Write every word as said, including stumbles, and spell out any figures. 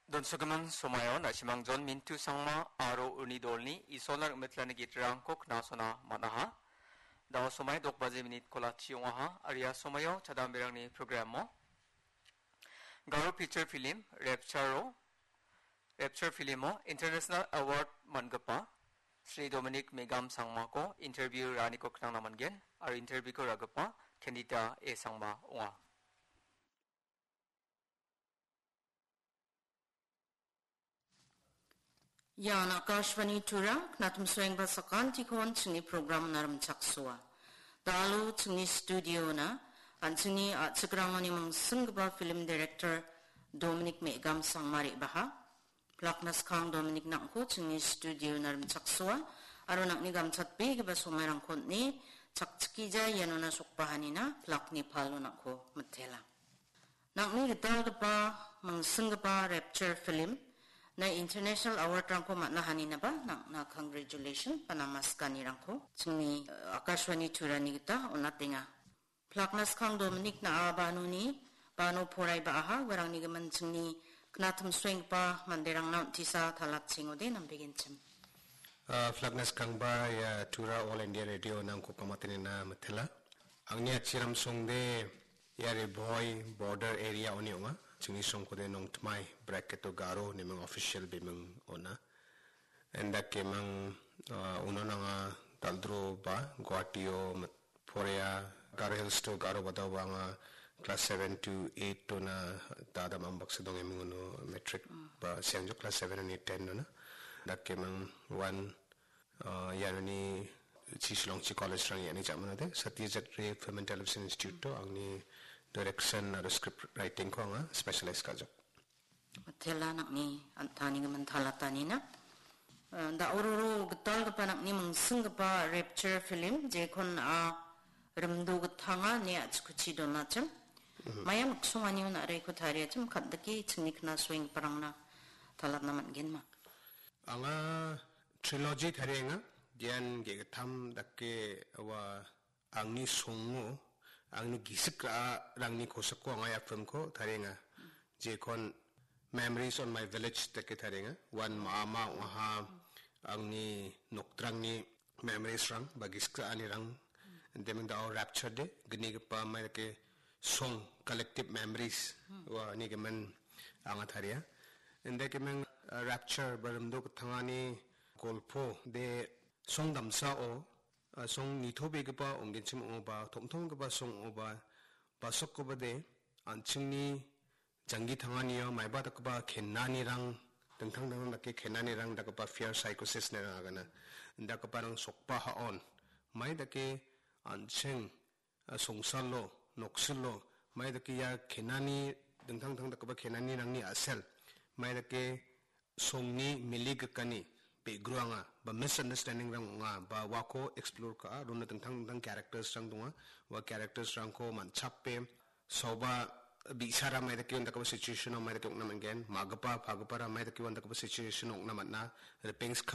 Donsogimin somaio na·simang John Mintu Sangma aro uni dolni Isolna rim·mitlani gitrangko knasona man·aha. Da·o somai dok baje minit kolachi ong·aha, aro ia somaio chadamberangni programo Garo feature film Rapture-o, Rapture filmo International Award man·gipa Sri Dominic Megam Sangmako interview ra·aniko knangna man·gen, aro interviewko ra·gipa Candida A Sangma ong·a. Ian Akashvani Tura, knatimsoengba sakantikon chingni program narimchaksoa. Dalo chingni studio-na, an·chingni a·chikrangoni mingsinggipa film director Dominic Megam Sangma re·baha. Plakna skang Dominic nangko chingni studio narimchaksoa, aro nangni gamchatbegipa somairangko on·e chakchikija ianona sokbahanina plakni palo nangko mitela. Nangni gitalgipa, mingsinggipa Rapture film na International Award-rangko man·a haninaba nangna congratulation ba namaskanirangko chingni, eh, Akashvani Turani gita on·atenga. Plakna skang Dominic na·a banoni, bano porai ba·aha, uarangni gimin chingni knatimsoenggipa manderangna on·tisa talatchengode nambegenchim. Ah, plakna skangba ia Tura All India Radio nangko kamatenina mitela. Angni achiram songde ia Ri Bhoi border area oni ong·a. Chingni songkode Nongtmai bracket o Garo neming official biming ona. Endake mang, ah, uno nanga daldro ba Guwahati o mit-, porea Garo Hills to Garo badao ba anga class seven to eight to na dada mang baksa dong eming uno matric ba siangjo class seven and eight ten no na. Dake mang one Ah, ianoni chi Shillong chi college rang iani jamano de Satyajit Ray Film and Television Institute to angni direction aro script writing ko anga specialize kajok. Tela nangni an·tani gimin talatanina. Eh, da·ororo gitalgipa nangni mingsinggipa Rapture film jekon a rimdo gitanga ne a·chikuchi donachim. Mhm. Maya miksonganio na·reko tariachim kandike chingni knasoenggiparangna talatna man·genma. Anga trilogy tarienga. Dian ge·gittam dake ua angni songo, angni gisik ra·arangni kosako anga ia filmko tarienga. Jekon Memories on My Village dake tarienga. Wan ma·ama ong·aha angni nokdrangni memories-rang ba gisik ra·anirang. Deming dao Rapture de gnigipa mai dake song collective memories ua nigimin anga taria. Inde kemeng, eh, Rapture ba rimdo gitangani golpo de song damsao, eh, song nitobegipa ong·genchim ong·oba, tom·tomgipa song ong·oba, basokgipa de an·chingni janggi tanganio maiba dakgipa kenanirang, dingtang dingtang dake kenanirang dakgipa fear psychosis nerang agana. Dakgiparang sokba ha·on. Mai dake an·ching ah, songsalo, noksilo, mai dake ia kenani, dingtang dingtang dakgipa kenanirangni a·sel, mai dake songni miligikani be·gruanga ba misunderstanding-rang ong·a, ba uako explore ka·a, rona dingtang dingtang characters-rang donga, ua characters-rangko man·chape, soba bi·sara mai dake undakgipa situation-o mai dake ong·na man·gen, ma·gipa, pagipara mai dake undakgipa situation-o ong·na man·a, ripengskaba